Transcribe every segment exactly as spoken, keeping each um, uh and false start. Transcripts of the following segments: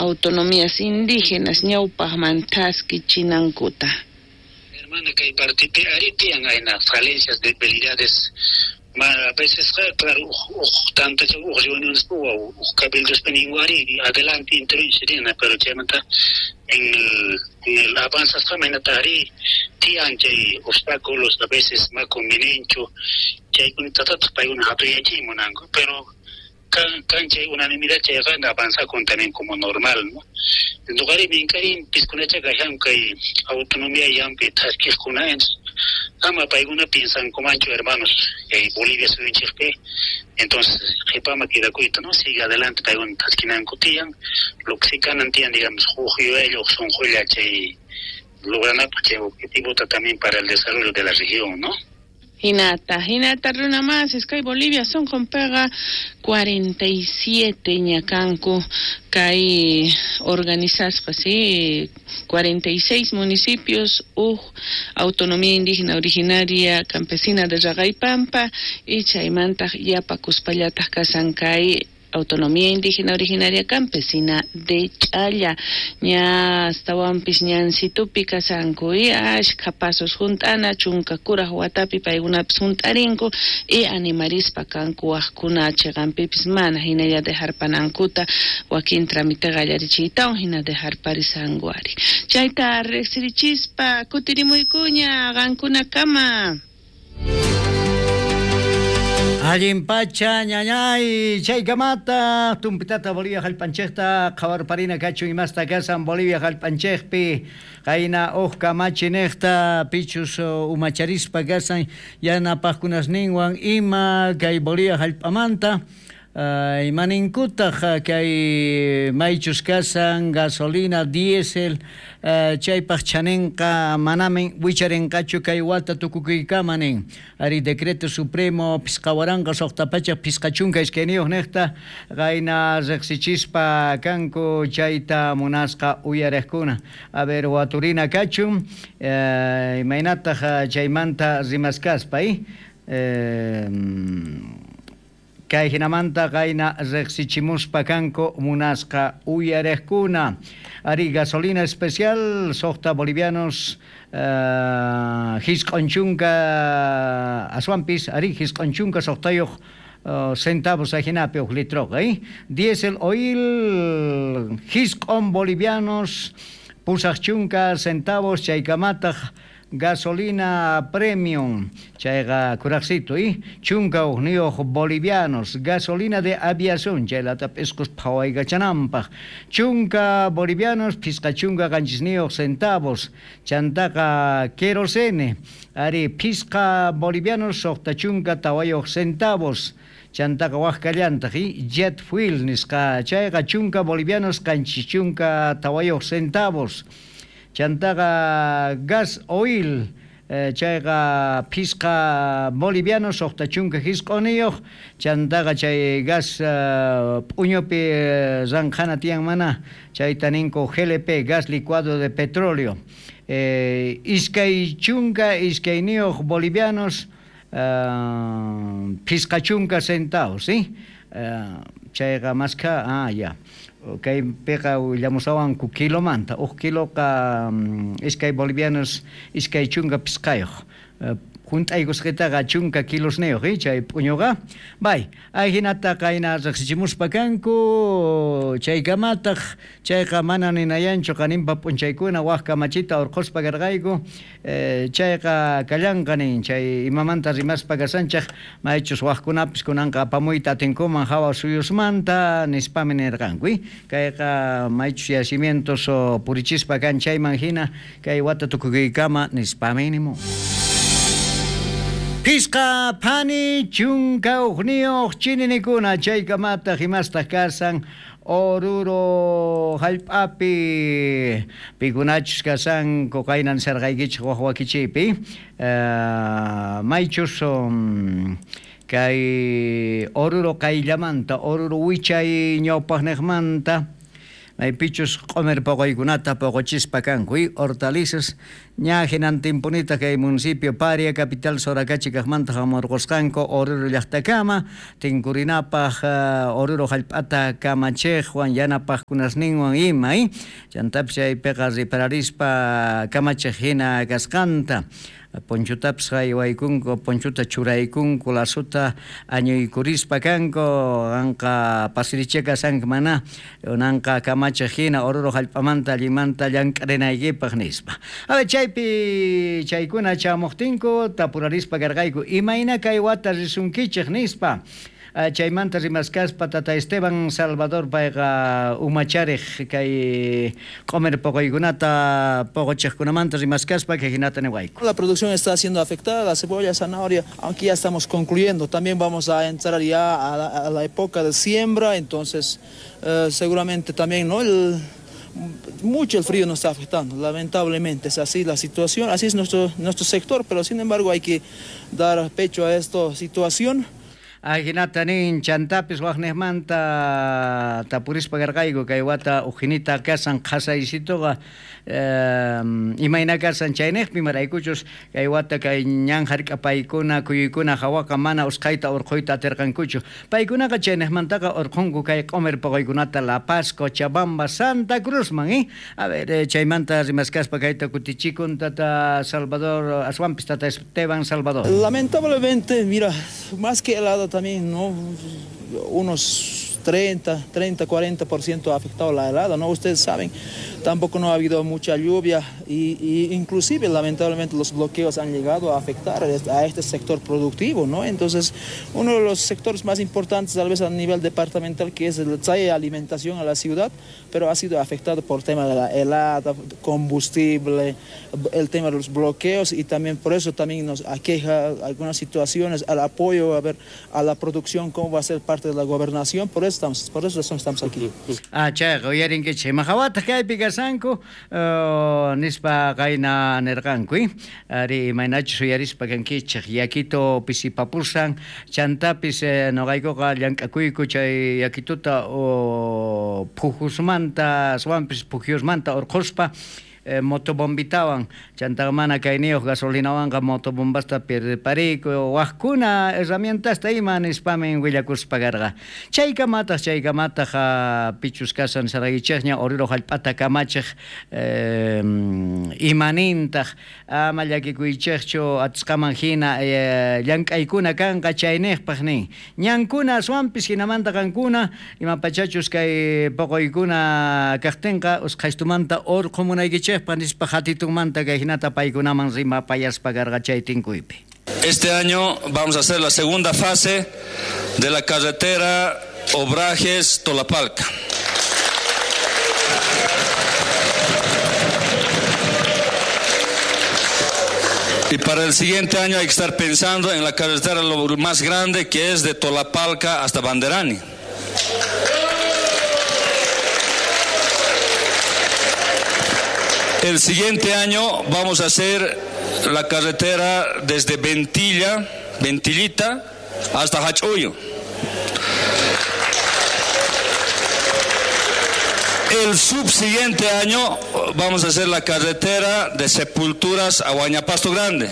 Autonomías indígenas ñawpaqman thaskichinankuta. Hermana, kay partipi ari tiyan ayna falencias, debilidades, a veces, claro, tantas reuniones o cabildos ari adelante intervenciones, pero chaymanta en el en el avanzasqa maynata ari tiyan chay obstáculos a veces ma convenienchu chaykunatataq paykuna hatuyachiy munanku, pero kan kan chay unanimidad chayqa avanzakun también como normal, ¿no? Ñuqari mink'arin piskunacha kashan kay autonomía llampi thaskiqkuna, ama paykuna piensankumanchu, hermanos, eh, Bolivia suyunchikpi, entonces qhipama quedakuyta, ¿no? Sigue adelante paykuna thaskinanku tiyan, lo que si kanan tiyan, digamos, huk yuyaylla huk sunqulla chay logranapaq chay objetivota también para el desarrollo de la región, ¿no? Hinata, hinata runa masis kay Bolivia sonqonpiqa cuarenta y siete ñakanku kay organizasqa, sí, cuarenta y seis municipios uj autonomía indígena originaria campesina de Raqaypampa y chaymantaq yapakuspallataq kasan kay autonomía indígena originaria campesina de Ch'alla. Ña astawanpis ñansitupi kasanku y ashkha pasos junt'ana chunka kuraj watapi paykunapis junt'arinku y animarispa kanku wajkuna chiqanpipis mana hinalla dejarpanankuta wakin trámite qallarichiytawan hina dejarparisanku ari. Chayta riqsirichispa kutirimuykuña qankunakama. Allin pacha ñañay chaykamata tumpitata Bolivia jallp'anchejta qhawarparina kachun imasta kasan Bolivia jallp'anchejpi qayna uj kamachi nejta pichus umacharispa kasan yanapajkunasninwan ima kay Bolivia jallp'amanta Uh, imaninkutaq kay maychus kasan gasolina diésel uh, chaypaq chanenqa manamin wicharenqachu kay wata tukukuykama nin ari decreto supremo pisqa waranqa suqta pachak pisqa chunka iskayniyuq niqta qayna riqsichispa kanku chayta munasqa uyariqkuna. A ver, waturina kachun uh, imaynataq chaymanta rimaskaspa eh? eh Kay hinamanta qayna riqsichimuspa kanku munasqa uyariqkuna. Ari gasolina especial suqta bolivianos uh, hisq'un chunka aswanpis ari hisq'un chunka suqtayuq uh, centavos ajinapi uj litroqa eh? Diesel oil hisq'un bolivianos pusaq chunka centavos chaykamataq gasolina premium chayqa kuraqsitu eh? Chunka ujniyuq bolivianos gasolina de aviación chaylata p'isqus phawaykachananpaq chunka bolivianos phisqa chunka qanchisniyuq centavos chantaqa querosene ari phisqa bolivianos suqta chunka tawayuq centavos chantaqa waj kallantaq eh? Jet fuel nisqa chayqa chunka bolivianos qanchis chunka tawayuq centavos chantaqa gas oil eh, chayqa phisqa bolivianos suqta chunka hisq'uniyuq chantaqa chay gas uh, p'uñupi ranqhana tiyan mana chayta ninku G L P gas licuado de petróleo eh, iskay chunka iskayniyuq bolivianos uh, phisqa chunka centavos ¿sí? Uh, chayqa maskha ah ya kay piqa willamusawanku kilomanta uj kiloqa um, iskay bolivianos iskay chunka pisqayuq uh, junt'aykusqitaqa chunka kilosniyuq eh, chay p'uñuqa bay ajinata qayna riqsichimuspa kanku chaykamataq chayqa mana ninayanchu qaninpa p'unchaykuna waj kamachita urqhuspa karqayku eh, chayqa kallanqa nin chay imamanta rimaspa kasanchaq maychus wajkunapis kunanqa apamuyta atinkuman hawa suyusmanta nispami nirqanku eh? Kayqa maychus yacimientos purichispa kan chayman hina kay wata tukukuykama nispami nimu. Pisqa phani chunka ujniyuq chininikuna chaykamataq imastaq kasan Oruro jallp'api pikunachus kasanku qaynan sarqaykichik waj wakichiypi uh, maychus um, kay Oruro qayllamanta Oruro wichay ñawpaqniqmanta maypichus q'umir poqoykunata poqochispa kanku y hortalizas ña hinantinpunita kay municipio Paria capital Soracachi kaqmanta hamurqusqanku Oruro llaqtakama tinkurinapaq uh, Oruro hallp'ata kamachiqwan yanapaqkunasninwan ima y chantapis chaypiqa ripararispa kamachiq hina kasqanta ponchutapis haywaykunku ponchuta churaykunku lasuta añuykurispa kanku anqa pasiricheka sank mana unanqa kamachiq hina Oruro hallp'amanta allimanta llank'arinaykipaq nispa. A ver, chaypi chaykuna chamuqtinku tapurarispa karqayku imayna kay wata risunkichik nispa. Chaymanta rimaskaspa tata Esteban Salvador payqa umachariq kay q'umir poqoykunata poqochiqkunamanta rimaskaspa kay hinata niwayku. La producción está siendo afectada, la cebolla, zanahoria, aunque ya estamos concluyendo, también vamos a entrar ya a la, a la época de siembra, entonces eh, seguramente también, ¿no? El, mucho el frío nos está afectando, lamentablemente es así la situación, así es nuestro, nuestro sector, pero sin embargo hay que dar pecho a esta situación. Ajinata nin chantapis waqniqmanta tapurispa karqayku kay wata ujinita kasan qhasaysituqa eh, imayna kasan chayniqpi maraykuchus kay wata kay ñan hark'apaykuna kuyuykuna hawaqa mana usqhayta urqhuyta atirqankuchu paykunaqa chayniqmantaqa urqhunku kay q'umir poqoykunata La Paz, Cochabamba, Santa Cruzman eh? A ver, eh, chaymanta rimaskaspa kayta kutichikun tata Salvador aswanpis tata Esteban Salvador. Lamentablemente, mira, más que helada también, ¿no? Unos treinta, treinta, cuarenta por ciento ha afectado la helada, ¿no? Ustedes saben, tampoco no ha habido mucha lluvia y, y inclusive lamentablemente los bloqueos han llegado a afectar a este sector productivo, ¿no? Entonces, uno de los sectores más importantes tal vez a nivel departamental que es el trae alimentación a la ciudad, pero ha sido afectado por el tema de la helada, combustible, el tema de los bloqueos y también por eso también nos aqueja algunas situaciones al apoyo a ver a la producción, cómo va a ser parte de la gobernación, por eso estamos, por eso estamos aquí. Ah, chayqa uyarinkichik imahawataq kaypi kasanku uh, nispa qayna nirqanku ari imaynachus uyarispa kankichik yakito pisipapusan chantapis eh, noqaykuqa llank'akuyku chay yakituta uh, phujusmanta aswanpis pujyusmanta urqhuspa Eh, motobombitawan chantaqa mana kayniyuq gasolinawanqa motobombasta pirpariku waqkuna herramientasta ima nispamin willakuspa karqa chaykamataq chaykamataq pichus kasan saraykichikña Oruro hallp'ata kamachiq eh, imanintaq ama llakikuychikchu atisqaman hina eh, llank'aykuna kanqa chayniqpaq nin ñankuna aswanpis hinamanta qankuna imapachachus kay poqoykuna kaqtinqa usqhaystumanta urqhumunaykichik nispa hatitunmanta kay hinata paykunaman rimapayaspa karqa chay tinkuypi. Este año vamos a hacer la segunda fase de la carretera Obrajes Tolapalca. Y para el siguiente año hay que estar pensando en la carretera lo más grande, que es de Tolapalca hasta Banderani. El siguiente año vamos a hacer la carretera desde Ventilla, Ventillita, hasta Hachuyo. El subsiguiente año vamos a hacer la carretera de Sepulturas a Huañapasto Grande.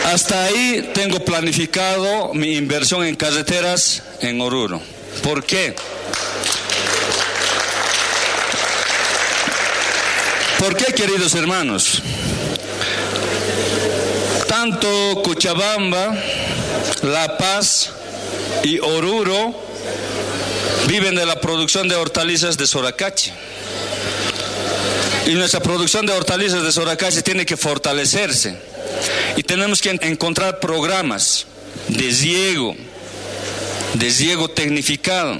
Hasta ahí tengo planificado mi inversión en carreteras en Oruro. ¿Por qué? ¿Por qué, queridos hermanos? Tanto Cochabamba, La Paz y Oruro viven de la producción de hortalizas de Soracachi. Y nuestra producción de hortalizas de Soracachi tiene que fortalecerse. Y tenemos que encontrar programas de riego, de riego tecnificado,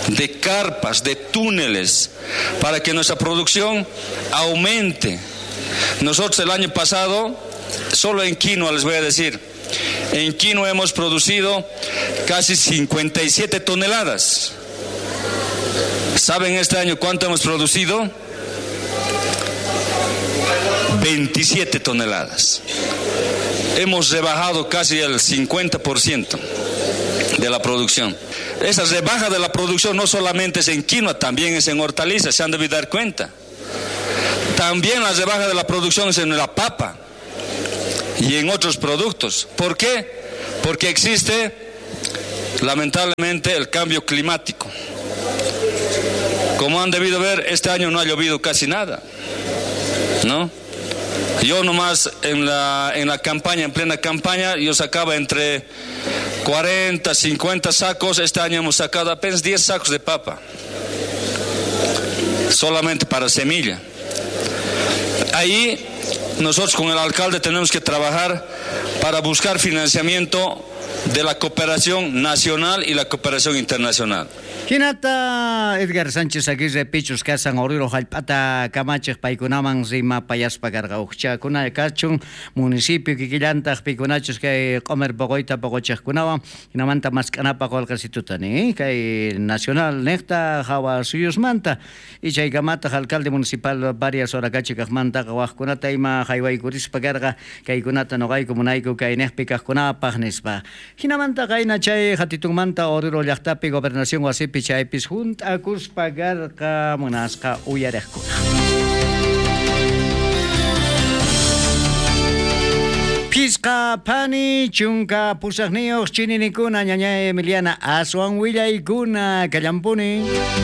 de carpas, de túneles, para que nuestra producción aumente. Nosotros el año pasado, solo en quinoa les voy a decir, en quinoa hemos producido casi cincuenta y siete toneladas. ¿Saben este año cuánto hemos producido? veintisiete toneladas. Hemos rebajado casi el cincuenta por ciento de la producción. Esa rebaja de la producción no solamente es en quinoa, también es en hortalizas, se han debido dar cuenta. También la rebaja de la producción es en la papa y en otros productos. ¿Por qué? Porque existe, lamentablemente, el cambio climático. Como han debido ver, este año no ha llovido casi nada, ¿no? Yo nomás en la, en la campaña, en plena campaña, yo sacaba entre cuarenta, cincuenta sacos. Este año hemos sacado apenas diez sacos de papa, solamente para semilla. Ahí nosotros con el alcalde tenemos que trabajar para buscar financiamiento de la cooperación nacional y la cooperación internacional. Hinata Edgar Sánchez Aguirre pichus kasan Oruro jallp'ata kamachej paykunaman rimapayaspa karqa ujchakuna kachun municipio kikillantaq pikunachus kay q'omer poqoyta poqochejkunawan hinamanta mask'anapaq qolqasituta ni kay nacional niqta hawa suyusmanta y chaykamataq alcalde municipal varias Soracachikajmantaqa wajkunata ima haywaykurispa karqa kaykunata noqayku munayku kay niqpi kajkunapaq nispa. Hinamanta qayna chay hatitunmanta Oruro llaqtapi gobernación wasipi chaypis junt'akuspa karqa munasqa uyariqkuna. Phisqa phani chunka pusaqniyuq chininikuna ñañay Emiliana aswan willaykuna kallampuni.